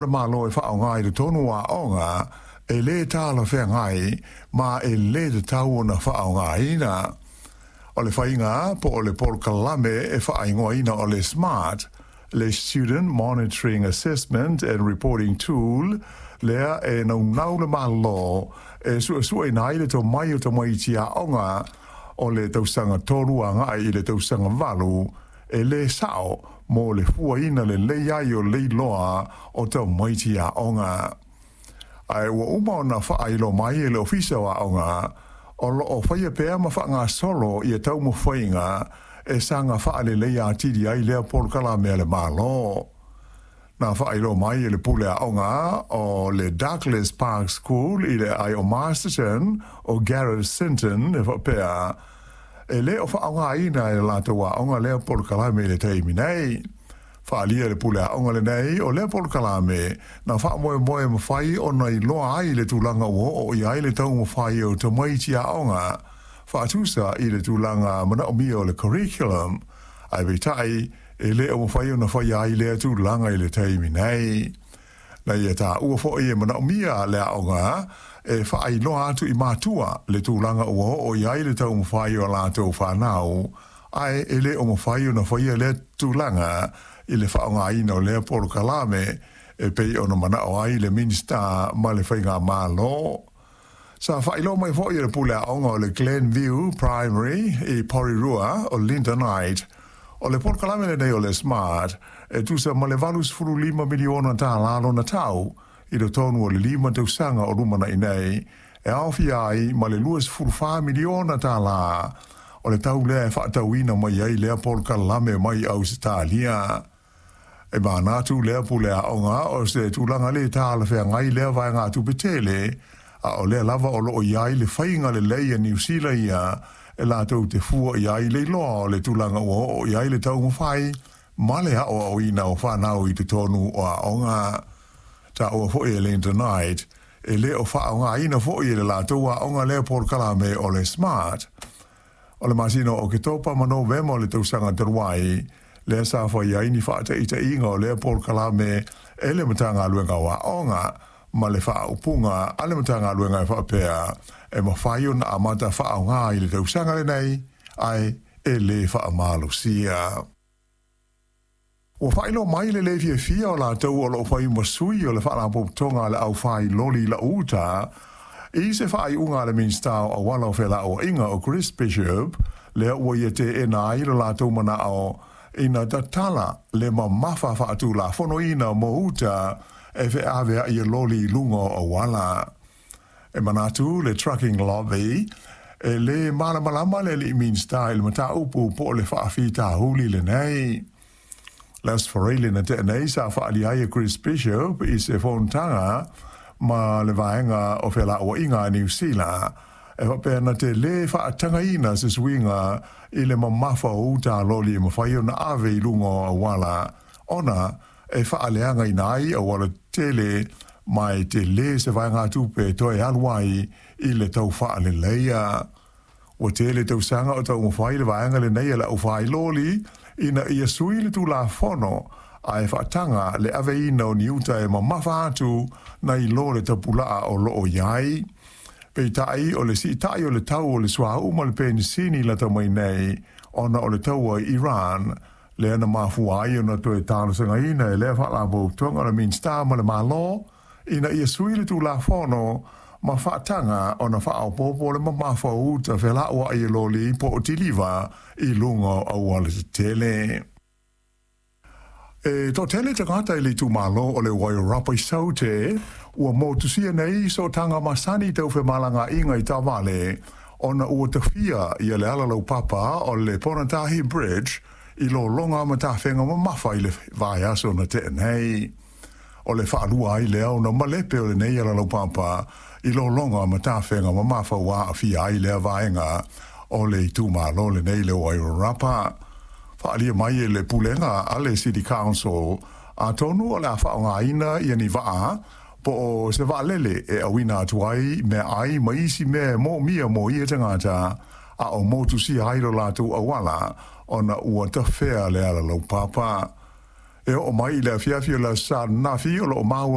Le Malo e faaaoga i totonu o aoga e lē talafeagai ma e lē tatau ona faaaogaina. O le faiga po o le polokalame e faaigoaina o le SMART, le Student Monitoring Assessment and Reporting Tool, lea e naunau le Malo e suesueina ai le tomai o tamaiti aoga o le tausaga 3 agai i le tausaga 8, e lē sao mo le fuaina lelei ai o le iloa o tamaiti aoga. Ae ua uma ona faailoa mai e le Ofisa o Aoga o loo faia pea ma faagasolo ia taumafaiga e saga faaleleia atili ai lea polokalame a le Malo. Na faailoa mai e le pule aoga o le Douglas Park School i le aai o Masterton o Gareth Sinton e faapea, e lē o faaaogaina e le latou aoga lea polokalame i le taimi nei. Faaalia e le pule aoga lenei o lea polokalame na faamoemoe e mafai ona iloa ai le tulaga ua oo i ai le taumafai o tamaiti aoga faatusa i le tulaga manaomia o le curriculum, ae peitai e lē o mafai ona faia ai lea tulaga i le taimi nei. Na ia taua foi e manaomia le aoga e faailoa atu i matua le tulaga ua oo i ai le taumafai o latou fanau, ae e lē o mafai ona faia lea tulaga i le faaaogaina o lea polokalame e pei ona manao ai le Minisita ma le Faigamalo. Sa faailoa mai foi e le pule aoga o le Glenview Primary i Porirua o Linda Knight, o le polokalame lenei o le SMART e tusa ma le $85 miliona tālā lona tau i totonu o le 5 tausaga o lumanai nei, e aofia ai ma le $24 miliona tālā o le tau lea e faatauina mai ai lea polokalame mai Ausetalia. E manatu lea pule aoga o se tulaga lē talafeagai lea vaegatupe tele, a o lea lava o loo i ai le faiga lelei a Niusila ia e latou te fua i ai le iloa o le tulaga ua oo i ai le taumafai ma le aoaoina o fanau i totonu o aoga. Taua foi e Linda Knight, e lē o faaaogaina foi e le latou aoga lea polokalame o le SMART. O le masina o Oketopa ma Novema o le tausaga talu ai lea sa fai ai ni faataitaiga o lea polokalame e le Matagaluega o Aoga, ma le faaupuga a le Matagaluega e faapea, e mafai ona amata faaaoga i le tausaga lenei, ae e lē faamalosia. Ua faailoa mai le lē fiafia o latou o loo fai ma sui o le Faalapotopotoga a le Aufai Loli Lau Uta i se faaiuga a le Minisita o Auala o Felauaiga o Chris Bishop, lea ua ia teena ai lo latou manao ina tatala le mamafa faatulafonoina mo uta e feaveai e loli i luga o auala. E manatu le Trucking Lobby, e lē malamalama le alii Minisita i le mataupu po o le faafitauli lenei. Le Aso Faraile na tea nei sa faaalia ai e Chris Bishop i se fonotaga ma le vaega o Felauaiga a Niu Sila e faapea na te lē faatagaina se suiga i le mamafa o uta a loli e mafai ona ave i luga o auala, ona e faaleagaina ai auala tetele ma e telē se vaegatupe e toe alu ai i le tau faaleleia. Ua tele tausaga o taumafai le vaega lenei a le aufai loli ina ia sui le tulafono ae faataga le aveina o ni uta e mamafa atu nai lo le tapulaa o loo i ai. Peitai o le siitai o le tau o le suauu ma le penisini lata mai nei ona o le taua i Iran, lea na mafua ai ona toe talosagaina e lea faalapotopotoga o le Minisita ma le Malo ina ia sui le tulafono ma faataga ona faaopoopo le mamafa o uta felauai e loli po o tiliva i luga o auala tetele. E toatele tagata i le itumalo o le Wairarapa i Saute ua motusia nei sootaga masani tau femalagaaiga i taavale, ona ua tafia ia le ala laupapa o le Ponatahi Bridge i lologa ma tafega mamafa i le vaiaso na tea nei. O le faalua ai lea ona malepe o lenei ala laupapa i lologa ma tafega mamafa ua aafia ai lea vaega o le itumalo lenei le Wairarapa. Faaalia mai e le pulega a le City Council, atonu o le a faaaogaina ia ni vaa po o se vaalele e auina atu ai meaai ma isi mea e moomia mo ia tagata a o motusia ai lo latou auala ona ua tafea le ala laupapa. E oo mai i le afiafi o le aso Sa ananafi o loo maua